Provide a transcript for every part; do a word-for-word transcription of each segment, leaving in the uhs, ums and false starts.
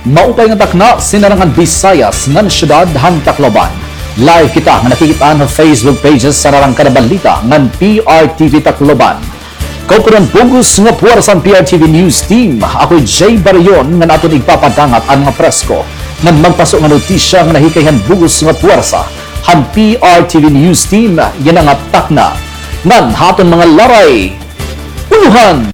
Maupay nga takna, sinarangan Bisayas ngan syudad han Tacloban. Live kita nga nakikit-an ha Facebook pages san Arangkada Balita ngan P R T V Tacloban. Kaupanan bug-os nga puwersa han P R T V News Team. Ako hi Jay Barion ngan aton igpapadangat an mga presko ngan magpaso nga notisya nga nahikay han bug-os nga puwersa han P R T V News Team yana nga takna. Ngan ha aton mga laray, ulohan.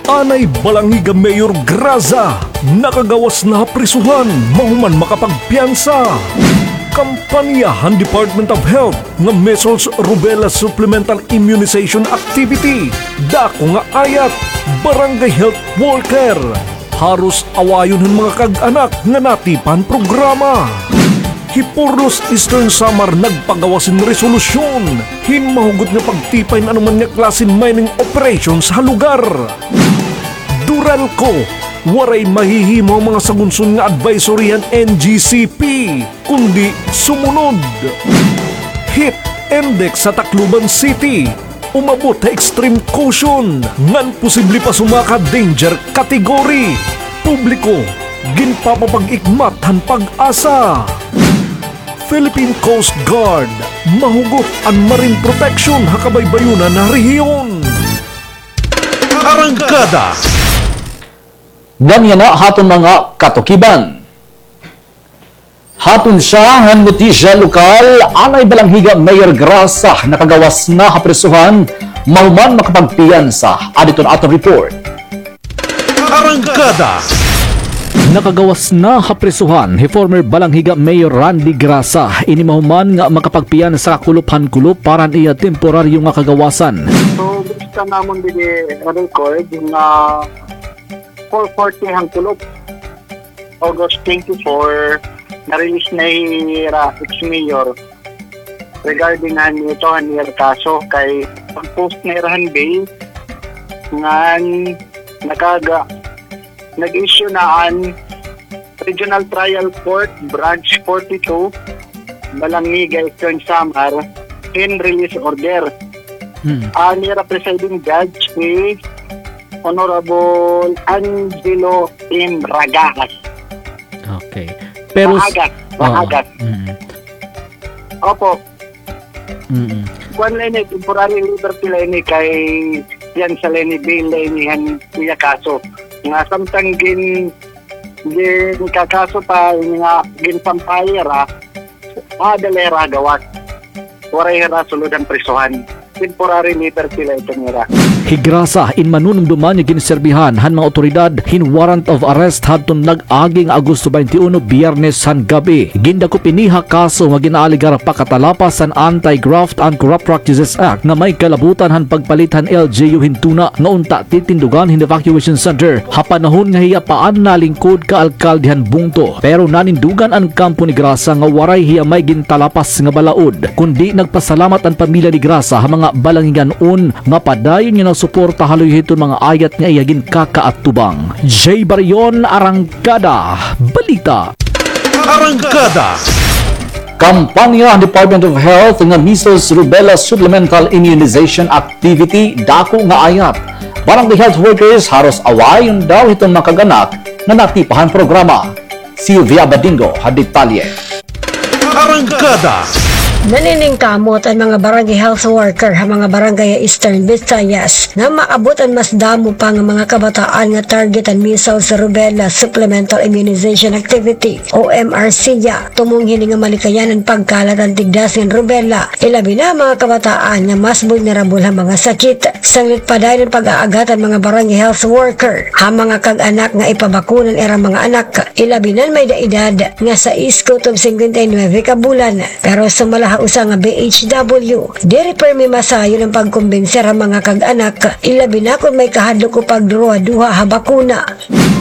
Anay Balangiga Mayor Graza, nakagawas na ha prisuhan, mahuman makapagpiyansa. Kampanya han Department of Health nga Measles Rubella Supplemental Immunization Activity, dako nga ayat, Barangay Health Worker. Haros awayon han mga kag-anak nga natipan programa. Hi Porlos Eastern Samar nagpagawas hin resolusyon hin mahugot nga pagtipay hin anoman nga klase hin mining operations ha lugar. Duralco, waray mahihimo an mga sagunson nga advisory han N G C P, kundi sumunod. Heat index ha Tacloban City, umabot ha extreme caution, ngan posible pa sumaka danger category. Publiko, ginpapapag-ikmat han PAGASA. Philippine Coast Guard, mahugot an marine protection ha kabaybayonan nga rehiyon. Arangkada. Ngan yana ha aton mga katukiban. Ha aton sya nga notisya lokal, anay Balangiga Mayor Graza nakagawas na ha prisuhan, mahuman makapagpiyansa. Adi iton aton report. Arangkada. Nakagawas na ha prisuhan hi former Balangiga Mayor Randy Graza. Ini mahuman nga makapagpiyansa kakulop han kulop para han iya temporaryo nga kagawasan. So, basta namon didi record nga four forty han kulop, August twenty-four, na-release na hira ex-mayor regarding han ito, han ira kaso kay pag-post na hira han bail ngan nakaga-, nag-issue na an Regional Trial Court, Branch forty-two, Balangiga, Eastern Samar, hin release order. Hmm. An ira presiding judge si Honorable Angelo M. Ragas. Okay. Pero s-, Ragas, oo. Ragas. Mm. Opo. Mm. Kuan la ini, temporary liberty la ini kay piyansa la ini, bail la ini han iya kaso. Nga samtang gin-, ginkakaso pa ini nga ginsampay hira, aada la hira ha gawas. Waray hira sulod han prisuhan. Temporary liberty la ito nira. Hi Graza in manunumdoman nga ginserbihan han mga awtoridad hin warrant of arrest hadton nag-agi nga Agosto twenty-one, Biyernes han gab-i. Gindakop ini ha kaso nga gin-aalegar pakatalapas han Anti-Graft and Corrupt Practices Act nga may kalabutan han pagpalit han L G U hin tuna nga unta titindugan hin evacuation center ha panahon nga hiya pa an nalingkod ka alkalde han bungto. Pero nanindugan an kampo ni Graza nga waray hiya may gintalapas nga balaod, kundi nagpasalamat an pamilya ni Graza ha mga Balangigan-on nga padayon nga nasuporta ha luyo hiton mga ayat nga iya ginkakaatubang. Jay Barion, Arangkada Balita. Arangkada. Kampanya han Department of Health nga Measles Rubella Supplemental Immunization Activity, dako nga ayat. Barangay health workers haros awayon daw hiton mga kag-anak nga natipa han programa. Sylvia Badingo ha detalye. Arangkada. Naniningkamot an mga barangay health worker ha mga barangay ha Eastern Visayas nga maabot an mas damo pa nga mga kabataan nga target han measles rubella supplemental immunization activity o M R C ya. Tumong hini nga malikayan an pagkalat han tigdas ngan rubella, ilabi na ha mga kabataan nga mas vulnerable ha mga sakit. Sanglit padayon an pag-aagat han mga barangay health worker ha mga kag-anak nga ipabakuna an ira mga anak, ilabi na an may-ada edad nga sais kutob singkwenta y nuebe ka bulan. Pero sumala ha usa nga B H W, diri pirmi masayon an pagkumbinser ha mga kag-anak, ilabi na kon may kahadlok o pagduruhaduha ha bakuna.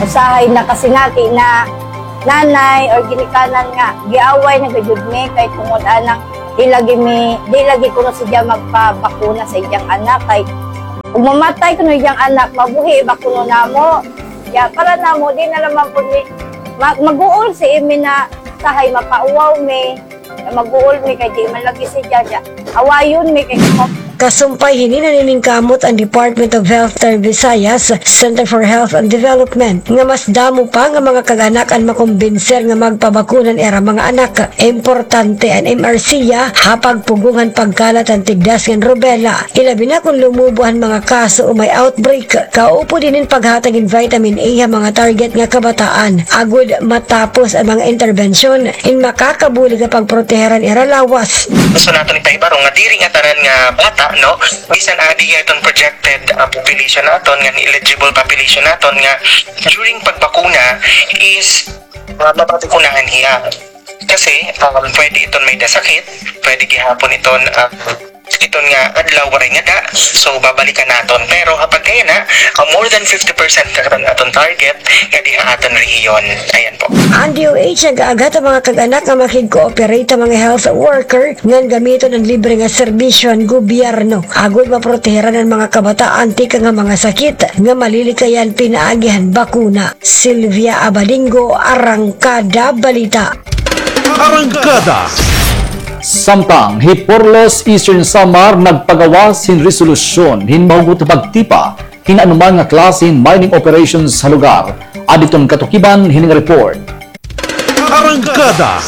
Usahay nakasingati na nanay or ginikanan nga giaway na gajud mi kay tungod anang di lagi mi, di lagi kuno siya magpabakuna sa iyang anak kay kung mamatay kuno iyang anak, mabuhi ba kuno namo? Ya, para namo, di na naman po ni, ma-, maguol si Imi na sahay mapauwaw mi, maguol mi kay di man lagi siya, ya. Awayon mi kay Kasumpay hini, naniningkamot an Department of Health Ter Visayas, Center for Health and Development, nga mas damo pa nga mga kag-anak an makumbinser nga magpabakuna an ira mga anak. Importante an M R C ha pagpugong han pagkalat han tigdas ngan rubella, ilabi na kon lumubo an mga kaso o may outbreak. Kaupod hinin paghatag hin vitamin A ha mga target nga kabataan, agod matapos an mga interbensyon in makakabulig ha pagproteher han ira lawas. Gusto naton ipahibaro nga diri ngatanan nga bata, no, bisan adi nga iton projected, ah, population naton, ngan eligible population naton, nga during pagbakuna is, ah, mababakunahan hiya. Kasi, um, pwede iton may-ada sakit, pwede gihapon iton, ah, iton nga adlaw waray ngada, so babalikan naton. Pero ha pagkayana, ah, more than fifty percent na karon aton target nga diha aton rehiyon. Ayan po. An D O H nag-aaghat ha mga kag-anak nga makig-cooperate ha mga health worker ngan gamiton an libre nga serbisyo han gobyerno agod maproteheran an mga kabataan tikang ha mga sakit nga malilikayan pinaagi han bakuna. Sylvia Abadingo, Arangkada Balita. Arangkada. Samtang Hiporlos, Eastern Samar nagpagawas hin resolusyon hin mahugot nga pagtipa hin anuman nga klase hin mining operations ha lugar. Adton katukiban hini nga report. Arangkada.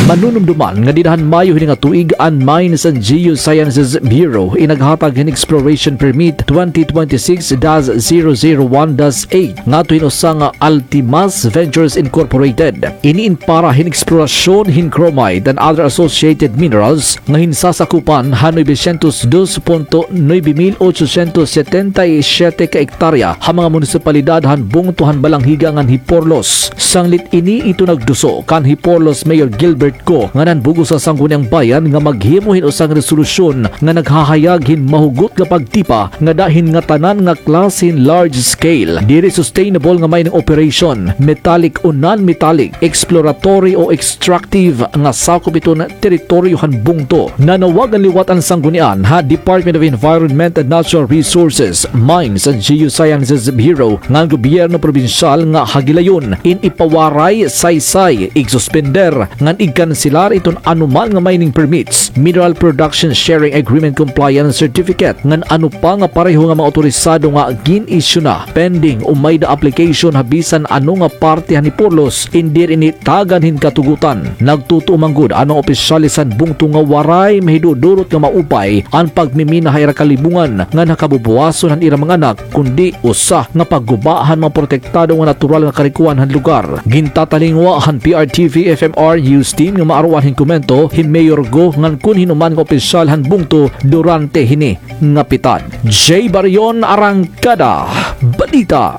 Manunumduman nga dida han Mayo hini nga tuig, an Mines and Geosciences Bureau in naghatag hin Exploration Permit twenty twenty-six dash zero zero one dash eight ngadto hin usa nga Altimas Ventures Incorporated. Ini in para hin eksplorasyon hin chromite and other associated minerals nga hinsasakupan han novecientos dos punto nuebe mil ochocientos setenta y siete ka ektarya ha mga munisipalidad han bungto han Balangiga ngan Hiporlos. Sanglit ini, ito nagduso kan Hiporlos Mayor Gilbert Go ngan han bug-os nga Sangguniang Bayan nga maghimo hin usa nga resolusyon nga naghahayag hin mahugot nga pagtipa ngada hin ngatanan nga klase hin large scale, diri sustainable nga mining operation, metallic o non-metallic, exploratory o extractive nga sakop iton teritoryo han bungto. Nanawagan liwat an sanggunian ha Department of Environment and Natural Resources, Mines and Geosciences Bureau ngan gobyerno probinsyal nga ha gilayon in ipawaray, saysay, igsuspender ngan igkanselar iton anuman nga mining permits, mineral production sharing agreement compliance certificate, ngan ano pa nga pareho nga mga otorisado nga gin-issue na, pending o may-ada application ha bisan ano nga parte han Hiporlos in diri ini tagan hin katugotan. Nagtutuo man gud an mga opisyales han bungto nga waray mahidudurot nga maupay an pagmimina ha ira kalibungan ngan ha kabubuwason han ira mga anak, kundi usa nga pagguba han mga protektado nga natural nga karikoan han lugar. Gintatalingwa han P R T V F M R News Team nga maaruan hin komento hi Mayor Go ngan kon hin-o man nga opisyal han bungto durante hini nga pitad. Jay Barion, Arangkada Balita.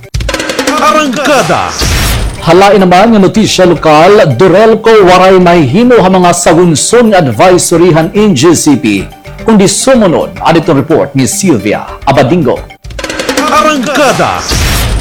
Arangkada. Ha lain naman nga notisya lokal, DURELCO waray mahihimo ha mga sagunson nga advisory han N G C P. Kundi sumunod, adton report ni Sylvia Abadingo. Arangkada.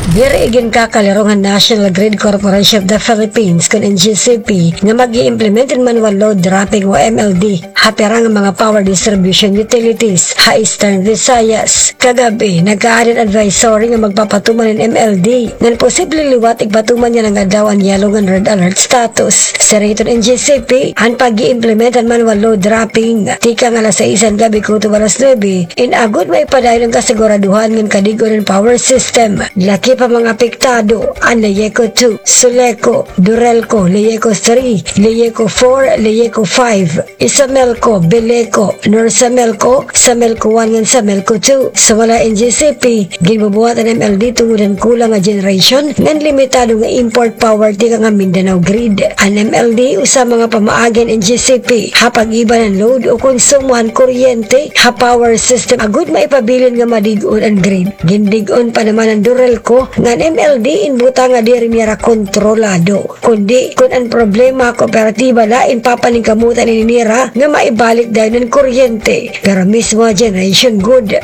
Diri iginkakalirong han National Grid Corporation of the Philippines, kon N G C P, nga mag-i-implement hin manual load dropping o M L D ha pira nga mga power distribution utilities ha Eastern Visayas. Kagab-i, nagkaada hin advisory nga magpapatuman hin M L D ngan posible liwat igpatuman yana nga adlaw an yellow ngan red alert status. Siring hiton N G C P, an pag-i-implement han manual load dropping tikang alas sais han gab-i kutob alas nuebe, in agod maipadayon an kasiguraduhan ngan kadig-on han power system. Lakip han mga apektado an LEECO two, SULECO, DURELCO, LEECO three, LEECO four, LEECO five, ISAMELCO, BELECO, NORSAMELCO, SAMELCO one ngan SAMELCO two. Sumala ha N G C P, ginbubuhat an M L D tungod han kulang nga generation ngan limitado nga import power tikang ha Mindanao grid. An M L D usa mga pamaagi han N G C P ha pag-iban han load o konsumo han kuryente ha power system agod maipabilin nga madig-on an grid. Gindig-on pa naman han DURELCO nga an M L D in butang nga diri nira kontrolado. Kundi, kon an problema ha kooperatiba la in papaningkamutan ini nira nga maibalik dayon an kuryente, pero mismo ha generation gud.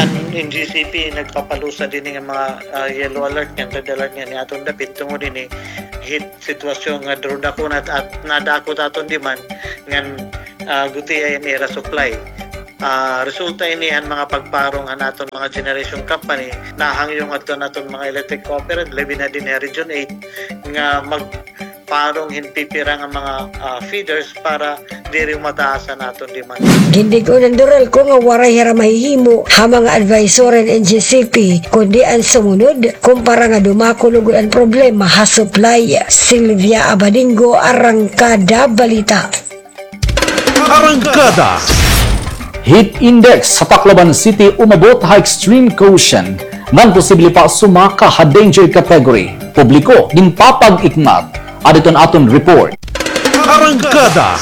An N G C P nagpapalusad ini nga mga, ah, yellow alert ngan red alert ngan niadton dapit tungod ini hit sitwasyon nga duro dako na at nadako ta aton demand ngan, ah, gutiay an ira supply. Ah, resulta ini han mga pagparong han aton mga generation company, nahangyo ngadto han aton mga electric cooperant, labi na dinhi ha Region eight, nga magparong hin pipira nga mga, ah, feeders para Diri mataas an aton demand. Gindig-on han DORALCO nga waray hira mahihimo ha mga advisory han N G C P, kundi an sumunod, kumpara nga dumakul ugod an problema ha supply. Sylvia Abadingo, Arangkada Balita. Arangkada. Heat index sa Tacloban City umabot ha extreme quotient, ngan posible pa sumaka ha danger category. Publiko ginpapag-ikmat. Adi iton aton report. Arangkada.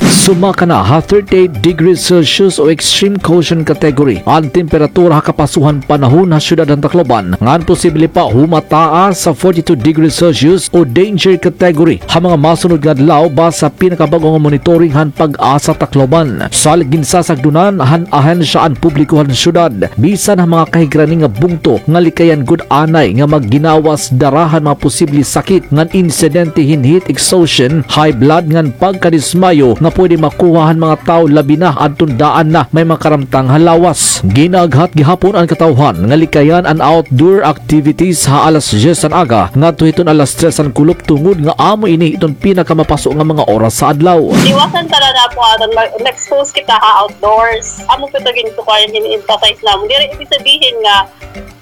Sumaka na ha thirty-eight degrees Celsius o extreme quotient category an temperatura ha kapasohan panahon ha syudad han Tacloban, ngan posible pa humataas sa forty-two degrees Celsius o danger category ha mga masunod nga adlaw base ha pinakabag-o nga monitoring han PAGASA Tacloban. Salit ginsasagdonan han ahensya an publiko han syudad bisan ha mga kahigrani nga bungto nga likayan gud anay nga magginawas dara han mga posible sakit ngan insidente hin heat exhaustion, high blood ngan pagkadismayo nga pwede makuha han mga tawo labi na adton daan na may mga karamtang ha lawas. Gin-aaghat gihapon an katawhan nga likayan an outdoor activities ha alas dyes han aga ngadto hiton alas tres han kulop tungod nga amo ini iton pinakamapaso nga mga oras sa adlaw. Iwasan ta na po aton mag-, ma-expose kita ha outdoors. Amo po ito gintukuan, gin-emphasize namon. Diri ibig sabihin nga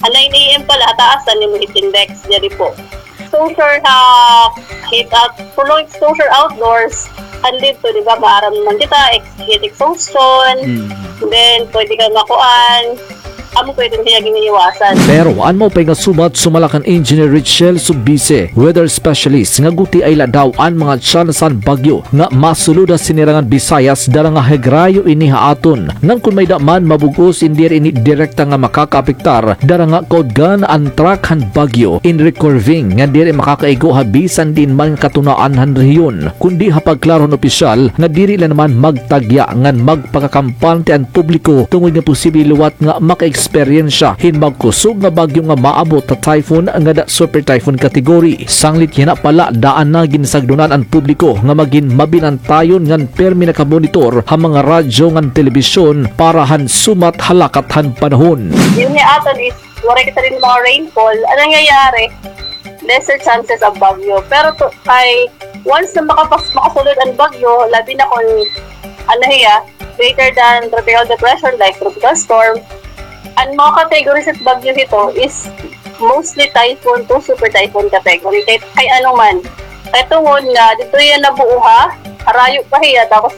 ha nine A M pa la, taas na nimo heat index, diri po. Exposure ha heat out, prolonged exposure outdoors, an didto, di ba, maaram man kita, ex-, heat exhaustion, mm, then pwede ka makuan, amo po iton hiya giniiwasan. Pero an maupay nga sumat sumala kan Engineer Richel Subise, weather specialist, nga gutiay la daw an mga tsansa han bagyo nga masulod ha Sinirangan Visayas, dara nga higrayo ini ha aton. Ngan kon may-ada man mabug-os, diri ini direkta nga makakaapektar, dara nga kaudgan an track han bagyo in recurving nga diri makakaigo ha bisan diin man nga katunaan han rehiyon, kundi ha pagklaro han opisyal nga diri la naman magtagya ngan magpakakampante an publiko tungod nga posible liwat nga maka-eksperyensya hin magkusog nga bagyo nga maabot ha typhoon ngada super typhoon category. Sanglit yana pa la, daan na ginsagdonan an publiko nga magin mabinantayon ngan pirmi nakamonitor ha mga radyo ngan telebisyon para han sumat ha lakat han panahon. Ini ha aton is waray kita diri mga rainfall. An nangyayari, lesser chances of bagyo. Pero to, kay once na makapas-, makasulod an bagyo, labi na kon ano hiya, greater than tropical depression like tropical storm, an mga categories han bagyo hito is mostly typhoon to super typhoon category. Kay, kay ano man. Kay tungod nga didto hiya nabuo ha harayo pa hiya, tapos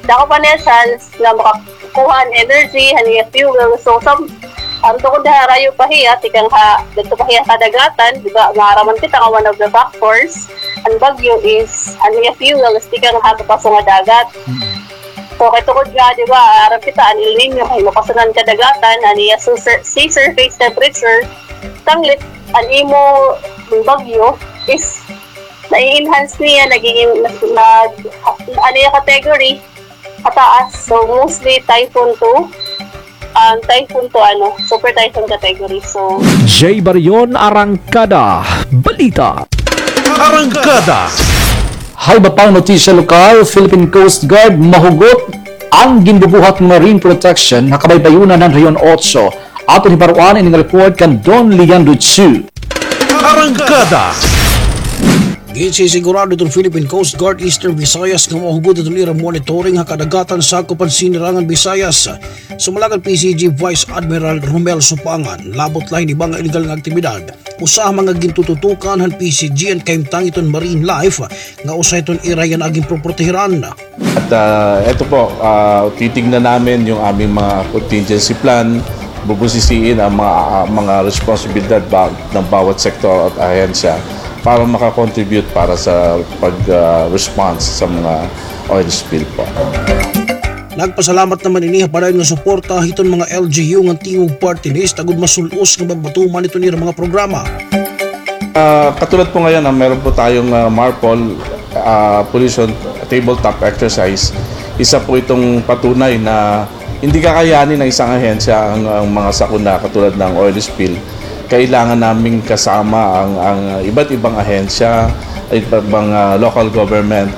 dako pa niya chance nga makakuha han energy, han iya fuel. So, sa, an tungod ha harayo pa hiya, tikang ha, didto pa hiya kadagatan, di ba, maaram man kita nga one of the factors han bagyo is an iya fuel is tikang ha kapaso nga dagat. Mm. So, kay tungod nga, di ba, aram kita, an El Niño, kay mapasunan kadagatan, an iya su-, sea surface temperature, sanglit, an imo bagyo is na-enhance niya, nagiging, nag, nag, ano yung category, pataas. So, mostly typhoon to, um, typhoon to, ano, super typhoon category. So, Jay Barion, Arangkada Balita. Arangkada. Ha iba pang notisya lokal, Philippine Coast Guard mahugot an ginbubuhat marine protection ha kabaybayonan han Region Otso. Aton hibaroan ini nga report kan Don Leandro Chu. Arangkada. Ginsisigurado hiton Philippine Coast Guard Eastern Visayas nga mahugot hiton ira monitoring ha kadagatan sakop han Sinirangan Visayas. Sumala kan P C G Vice Admiral Romel Supangan, labot la hin iba nga illegal nga aktibidad, usa ha mga gintututukan han P C G an kahimtang hiton marine life nga usa hiton ira yana ginpoprotehiran. At, ah, eto po, ah, titignan namin yung aming mga contingency plan, bubusisiin ang mga, ah, mga responsibilidad ba-, ng bawat sektor at ahensya para makakontribute para sa pag, ah, response sa mga oil spill po. Nagpasalamat naman ini ha padayon nga suporta hiton mga L G U ngan Tingog Party List agod masul-os nga mapatuman iton ira mga programa. Ah, katulad po ngayon, ah, meron po tayong, ah, MARPOL, ah, Pollution Tabletop Exercise. Isa po itong patunay na hindi kakayanin ng isang ahensya ang, ang mga sakuna katulad ng oil spill. Kailangan naming kasama ang, ang iba't ibang ahensya, iba't ibang, ah, local government.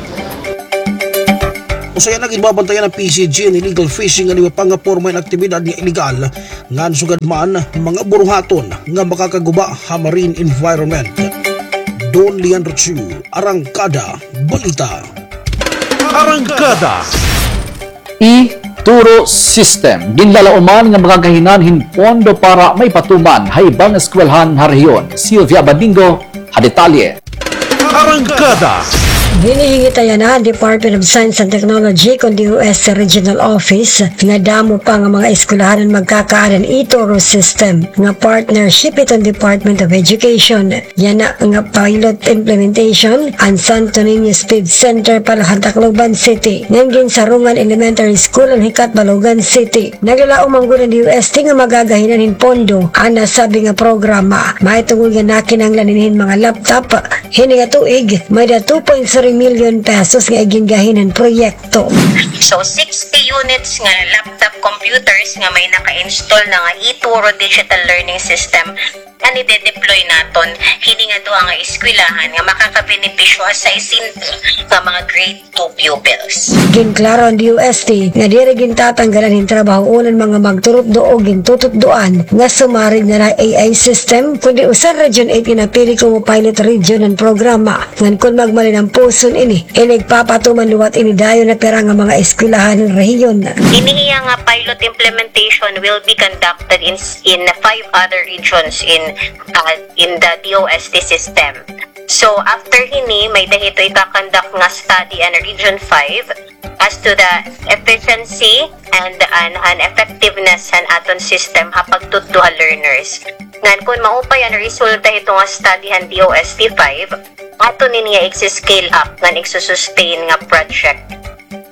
Usa yana nga ginbabantayan han P C G an illegal fishing ngan iba pa nga porma hin aktibidad nga illegal ngan sugad man mga buruhaton nga makakaguba ha marine environment. Don Leandro Chu, Arangkada Balita. Arangkada. E-Turo System. Ginlalauman nga makakahinan hin pondo para maipatuman ha iba nga eskwelahan ha rehiyon. Sylvia Badingo, ha detalye. Arangkada. Ginhihingit yana han Department of Science and Technology kon D O S T Regional Office nga damo pa nga mga eskwelahan an magkakaada hin e-Turo system nga partnership hiton Department of Education. Yana nga pilot implementation an Santo Niño Speed Center para han Tacloban City ngan Ginsarongan Elementary School han Hicatbalogan City. Naglalaom man gud an D O S T nga magagahinan hin pondo an nasabi nga programa. Mahitungod nga nakinahanglan ini hin mga laptop, hini nga tuig, may-ada two point three million pesos nga igingahin han proyekto. So, sixty units nga laptop computers nga may naka-install na nga e-Turo digital learning system an ide-deploy naton hini nga duha nga eskwelahan nga makakabenepisyo ha sesenta nga mga grade two pupils. Ginklaro han D O S T nga diri gintatanggalan hin trabaho an mga magturutdo o gintututdoan nga sumarig na la ha A I system, kundi usa han Region eight nga napili komo pilot region han programa. Ngan kon magmalinampuson ini, inigpapatuman liwat ini dayon ha pira nga mga eskwelahan han rehiyon. Ini hiya nga pilot implementation will be conducted in, in five other regions in, uh, in the D O S T system. So, after hini, may-ada hito ika-conduct nga study an Region five as to the efficiency and an, an effectiveness han aton system ha pagtutdo ha learners. Ngan kon maupay an resulta hito nga study han D O S T five, aton ini nga igsi-scale up ngan igsusustain nga project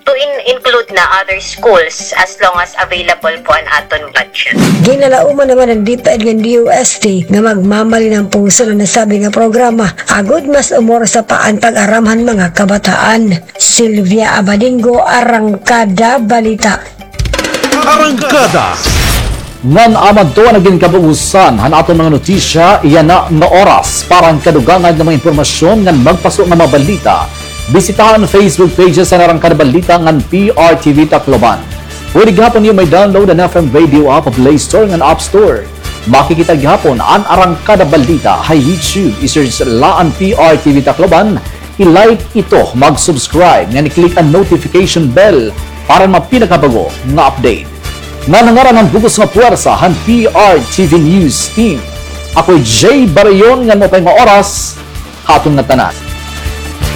to in-, include na other schools as long as available po an aton budget. Ginlalauman naman han DepEd ngan D O S T nga magmamalinampuson an nasabi nga programa agod mas umorasa pa an pag-aram han mga kabataan. Sylvia Abadingo, Arangkada Balita. Arangkada. Ngan amo adto an nagin kabug-osan han aton mga notisya yana nga oras. Para han kadugangan nga mga impormasyon ngan magpaso nga mga balita, bisitaha an Facebook pages han Arangkada Balita ngan P R T V Tacloban. Pwede gihapon niyo may-download an F M Radio app ha Play Store ngan App Store. Makikita gihapon an Arangkada Balita ha YouTube. I-search la an P R T V Tacloban. I-like ito, mag-subscribe, ngan i-click an notification bell para an mga pinakabag-o nga update. Ngan ha ngaran han bug-os nga puwersa han P R T V News Team, ako hi Jay Barayon, ngan maupay nga oras ha aton ngatanan.